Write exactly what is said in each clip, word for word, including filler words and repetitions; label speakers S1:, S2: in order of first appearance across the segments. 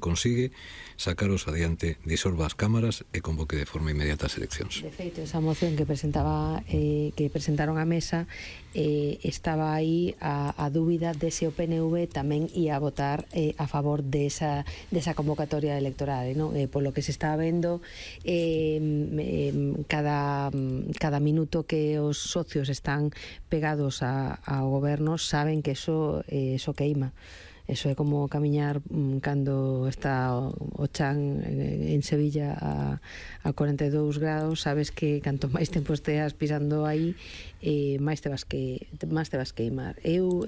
S1: consigue sacaros adiante, disolva as cámaras e convoque de forma inmediata as eleccións.
S2: De feito, esa moción que presentaba eh, que presentaron á mesa eh, estaba aí a, a dúbida de se o P N V tamén ia a votar eh, a favor desa, desa convocatoria electoral, non? Eh, polo que se está vendo eh, eh, cada, cada minuto que os socios están pegados a, ao goberno saben que eso, eh, eso queima. Eso é como camiñar um, cando está o, o chan en, en Sevilla a, a cuarenta e dous grados, sabes que canto máis tempo esteas pisando aí, eh, máis te vas que máis te vas queimar. Eu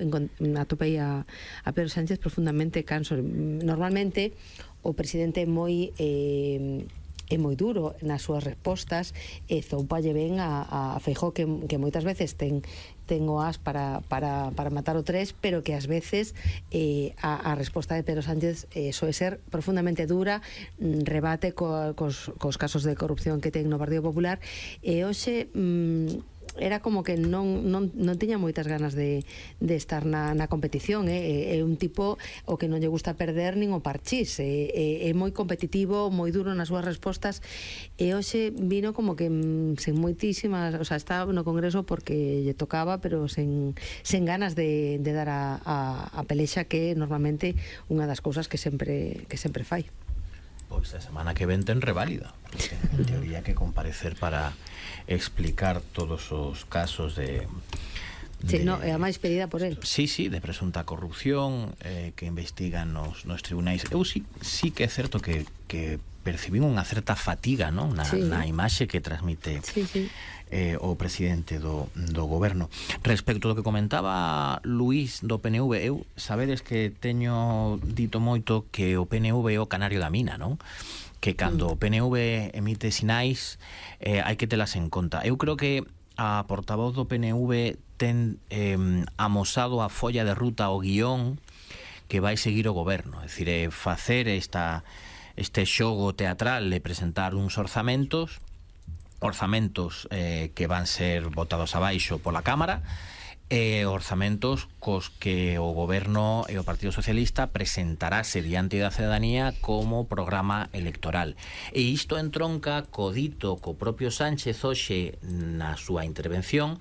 S2: atopei a, a Pedro Sánchez profundamente canso. Normalmente o presidente é moi eh, é moi duro nas súas respostas e zoupalle ben a, a Feijóo que, que moitas veces ten ten o as para, para, para matar o tres, pero que ás veces eh, a, a resposta de Pedro Sánchez eh, soe ser profundamente dura, rebate co, cos, cos casos de corrupción que ten no Partido Popular, e hoxe mm, era como que non, non, non tiña moitas ganas de, de estar na, na competición. É, é un tipo o que non lle gusta perder nin o parchís, é, é, é moi competitivo, moi duro nas súas respostas, e hoxe vino como que sen moitísimas, o sea, estaba no Congreso porque lle tocaba, pero sen, sen ganas de, de dar a, a, a pelexa, que é normalmente unha das cousas que sempre, que sempre fai.
S3: Pois a semana que ven ten reválida, porque en teoría que comparecer para explicar todos os casos de...
S2: Sí,
S3: de
S2: no, é a máis pedida por él.
S3: Sí, sí, de presunta corrupción eh, que investigan nos, nos tribunais. Eu sí, sí que é certo que, que percibín unha certa fatiga, non? Na, sí. na imaxe que transmite
S2: sí, sí.
S3: Eh, o presidente do, do goberno. Respecto ao que comentaba Luís do P N V, eu sabedes que teño dito moito que o P N V é o canario da mina, non? Que cando mm. o P N V emite sinais eh, hai que telas en conta. Eu creo que a portavoz do P N V ten eh, amosado a folla de ruta, o guión que vai seguir o goberno, é dicir, é facer esta, este xogo teatral de presentar uns orzamentos orzamentos eh, que van ser votados abaixo pola Cámara, e orzamentos cos que o goberno e o Partido Socialista presentarase diante da cidadanía como programa electoral. E isto entronca co dito co propio Sánchez hoxe na súa intervención,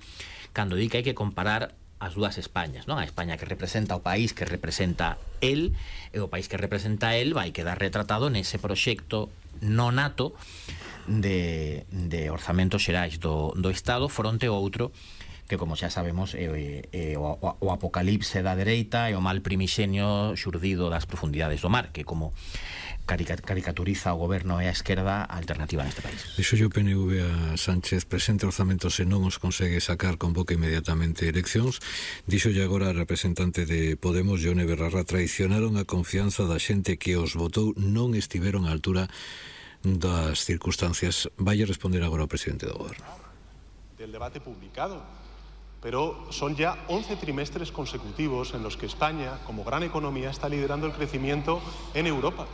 S3: cando di que hai que comparar as dúas Españas, non? A España que representa o país que representa el, e o país que representa el vai quedar retratado nese proxecto nonato de, de orzamentos xerais do, do Estado fronte ao outro que, como xa sabemos, é, é o, o apocalipse da dereita e o mal primixenio xurdido das profundidades do mar, que como caricaturiza o goberno e a esquerda a alternativa neste país.
S1: Dixo o P N V a Sánchez: presente orzamentos e non os consegue sacar, convoca inmediatamente eleccións. Dixo agora a representante de Podemos, Ione Belarra: traicionaron a confianza da xente que os votou, non estiveron á altura das circunstancias. Vai a responder agora o presidente do goberno.
S4: Del debate publicado, pero son ya once trimestres consecutivos en los que España, como gran economía, está liderando el crecimiento en Europa.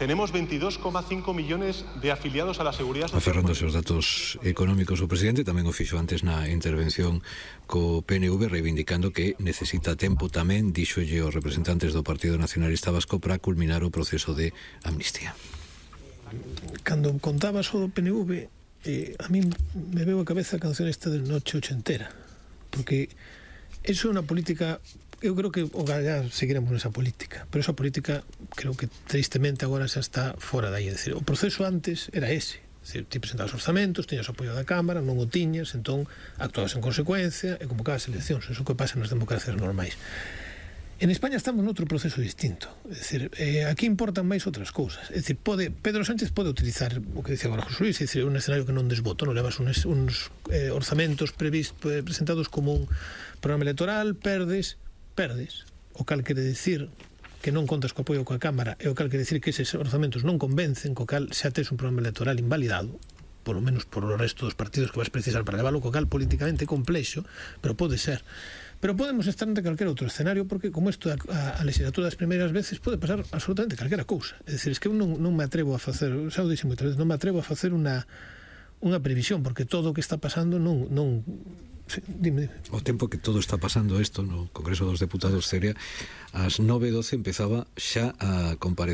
S4: Tenemos veintidós coma cinco millones de afiliados a la Seguridad Social.
S1: Aferrándose aos datos económicos, o presidente tamén o fixo antes na intervención co P N V, reivindicando que necesita tempo tamén, díxolle aos representantes do Partido Nacionalista Vasco, para culminar o proceso de amnistía.
S5: Cando contabas o do P N V, eh, a mí me veo a cabeza a canción esta de Noche Ochentera, porque eso é unha política. Eu creo que o Gallá seguiremos nesa política, pero esa política creo que tristemente agora xa está fora dai. É dicir, o proceso antes era ese, é dicir, ti presentabas orzamentos, tiñas o apoio da Cámara, non o tiñas, entón actuabas en consecuencia e convocabas eleccións. Eso que pasa nas democracias normais. En España estamos noutro proceso distinto, é dicir, eh, aquí importan máis outras cousas. É dicir, pode, Pedro Sánchez pode utilizar o que dicía agora José Luis, é dicir, un escenario que non desboto, non levas uns, uns eh, orzamentos previsto, eh, presentados como un programa electoral, perdes perdes, o cal quere dicir que non contas co apoio coa Cámara, e o cal quere dicir que eses orzamentos non convencen, co cal xa tes un programa electoral invalidado, polo menos por o resto dos partidos que vas precisar para leválo, co cal políticamente complexo, pero pode ser. Pero podemos estar ante calquera outro escenario, porque como isto a, a, a legislatura das primeiras veces pode pasar absolutamente calquera cousa. É dicir, es que eu non, non me atrevo a facer, xa o dixen moitas veces, non me atrevo a facer unha unha previsión, porque todo o que está pasando non... non sí, dime, dime.
S1: O tempo que todo está pasando isto no Congreso dos Deputados, Celia, ás nove e doce empezaba xa a comparecer